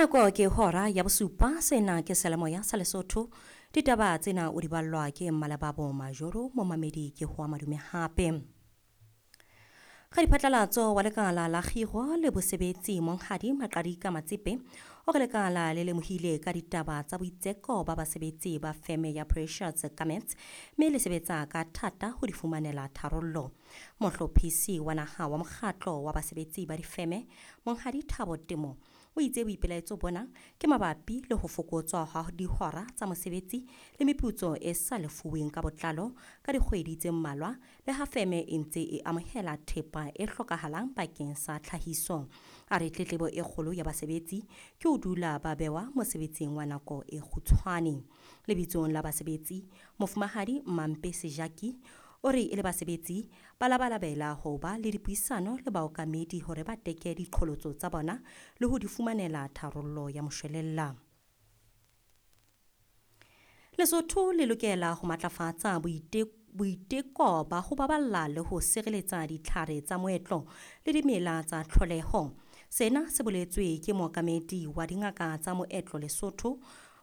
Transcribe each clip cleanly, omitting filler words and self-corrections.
Nako ke hora ya bosupa, sena ke Selemoya sa Lesotho. Ditaba tsena o di ballwa ke Mmalebabo Majoro, momamedi ke hoa madume hape. Radiphatlalatso wa lekala la kgiro le bosebetsi Monghadi Maqadika Matsepe o re lekala le lemohile ka ditaba tsa boitseko ba basebetsi ba feme ya Precious Garments mme le sebetsa ka thata ho di fumanela tharollo. Mohlophisi wa naha wa mokgatlo wa basebetsi ba difeme Monghadi Thabo Temo o itse boipelaetso bona ke mabapi le ho fokotswa ha dihora tsa mosebetsi le meputso e sa lefuweng ka botlalo ka dikgwedi tse mmalwa le ha feme e ntse e amohela thepa e hlokahalang bakeng sa tlhahiso. A re tletlebo e kgolo ya basebetsi ke ho dula ba bewa mosebetsing wa nako e kgutshwane. Lebitsong la basebetsi, Mofumahadi Mampe Sejaki o re e le basebetsi ba labalabela ho ba le dipuisano le baokamedi hore ba teke diqholotso tsa bona le ho di fumanela tharollo ya moshwelella. Lesotho le lokela ho matlafatsa boiteko ba ho baballa le ho sireletsa ditlhare tsa moetlo le dimela tsa tlholeho. Sena se boletswe ke mookamedi wa dingaka tsa moetlo Lesotho,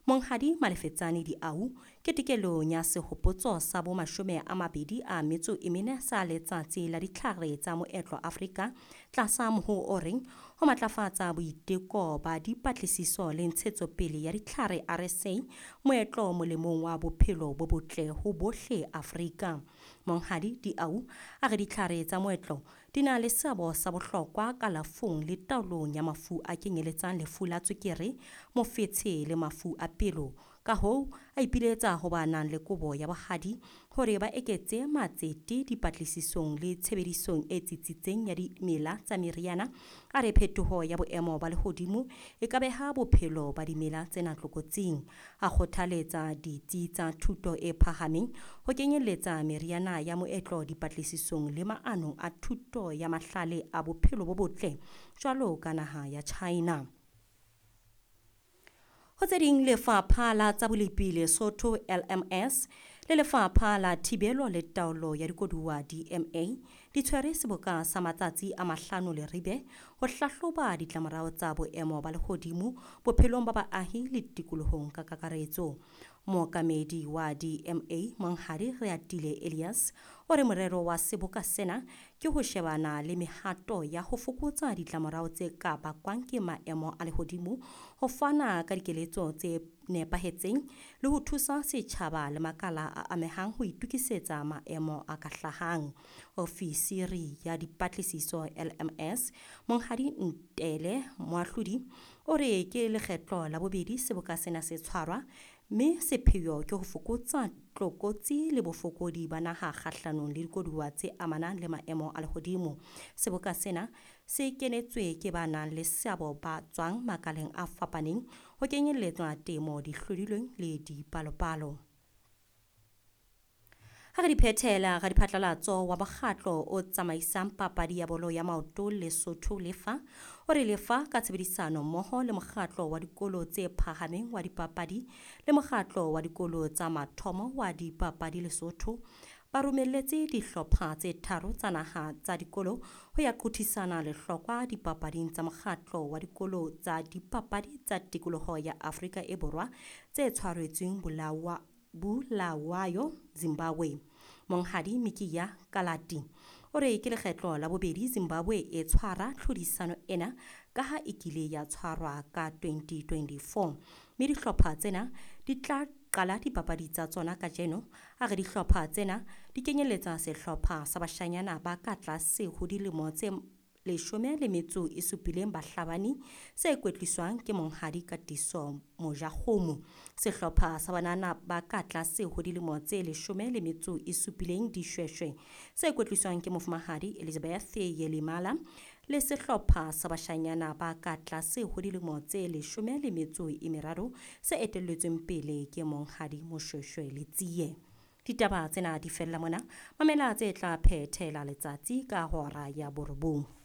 Monghadi Malefetsane Diau, ketekelong ya sehopotso sa bo 24 sa letsatsi la ditlhare tsa moetlo Afrika tlasa moho o reng ho matlafatsa boiteko ba dipatlisiso le ntshetsopele ya ditlhare RSA moetlo molemong wa bophelo bo botle ho bohle Afrika. Monghadi Diau a re ditlhare tsa moetlo di na le seabo sa bohlokwa kalafong le taolong ya mafu a kenyeletsang lefu la tswekere, mofetshe le mafu a pelo. Ka hoo, a ipiletsa ho ba nang le kobo ya bohadi hore ba eketse matsete dipatlisisong le tshebedisong e tsitsitseng ya dimela tsa meriana. A re phetoho ya boemo ba lehodimo e ka beha bophelo ba dimela tsena tlokotsing. A kgothaletsa ditsi tsa thuto e phahameng ho kenyelletsa meriana ya moetlo dipatlisisong le maanong a thuto ya mahlale a bophelo bo botle jwalo ka naha ya China. Ho tse ding, lefapha la tsa bolepi Lesotho LMS le lefapha la thibelo le taolo ya dikoduwa DMA di tshwere seboka sa matsatsi a 5 Leribe ho hlahloba ditlamorao tsa boemo ba lehodimo bophelong ba baahi le tikolohong ka kakaretso. Mookamedi wa DMA Monghadi Reatile Elias o re morero wa seboka sena ke ho shebana le mehato ya ho fokotsa ditlamorao tse ka bakwang ke maemo a lehodimo, ho fana ka dikeletso tse nepahetseng le ho thusa setjhaba le makala a amehang ho itokisetsa maemo a ka hlahang. Ofisiri ya dipatlisiso LMS Monghadi Ntele Moahlodi o re ke lekgetlo la bobedi seboka sena se tshwarwa mme sepheo ke ho fokotsa tlokotsi le bofokodi ba naha kgahlanong le dikoduwa tse amanang le maemo a lehodimo. Seboka sena se kenetswe ke ba nang le seabo ba tswang makaleng a fapaneng ho kenyelletswa temo, dihlodilweng le dipalopalo. Ha re di phethela, radiphatlalatso wa mokgatlo o tsamaisang papadi ya bolo ya maoto Lesotho Lefa o re lefa ka tshebedisano mmoho le mokgatlo wa dikolo tse phahameng wa dipapadi le mokgatlo wa dikolo tsa mathomo wa dipapadi Lesotho ba romelletse dihlopha tse 3 tsa naha tsa dikolo ho ya qothisana lehlokwa dipapading tsa mokgatlo wa dikolo tsa dipapadi tsa tikoloho ya Afrika e Borwa tse tshwaretsweng Bulawayo, Zimbabwe. Monghadi Mikiya Kalati o re ke lekgetlo la bobedi Zimbabwe e tshwara tlhodisano ena ka ha e kile ya tshwarwa ka 2024 mme dihlopha tsena di tla qala dipapadi tsa tsona kajeno. A re dihlopha tsena di kenyelletsa sehlopha sa bashanyana ba ka tlase ho dilemo tse 17 bahlabani se kwetliswang ke Monghadi Katiso Mojakgomo, sehlopha sa banana ba ka tlase ho dilemo tse 17 dishweshwe se kwetliswang ke Mofumahadi Elizabeth Yelimala le sehlopha sa bashanyana ba ka tlase ho dilemo tse 13 se etelletsweng pele ke Monghadi Moshweshwe Letsie. Ditaba tsena di fella mona, mamela tse tla phethela letsatsi ka hora ya 9.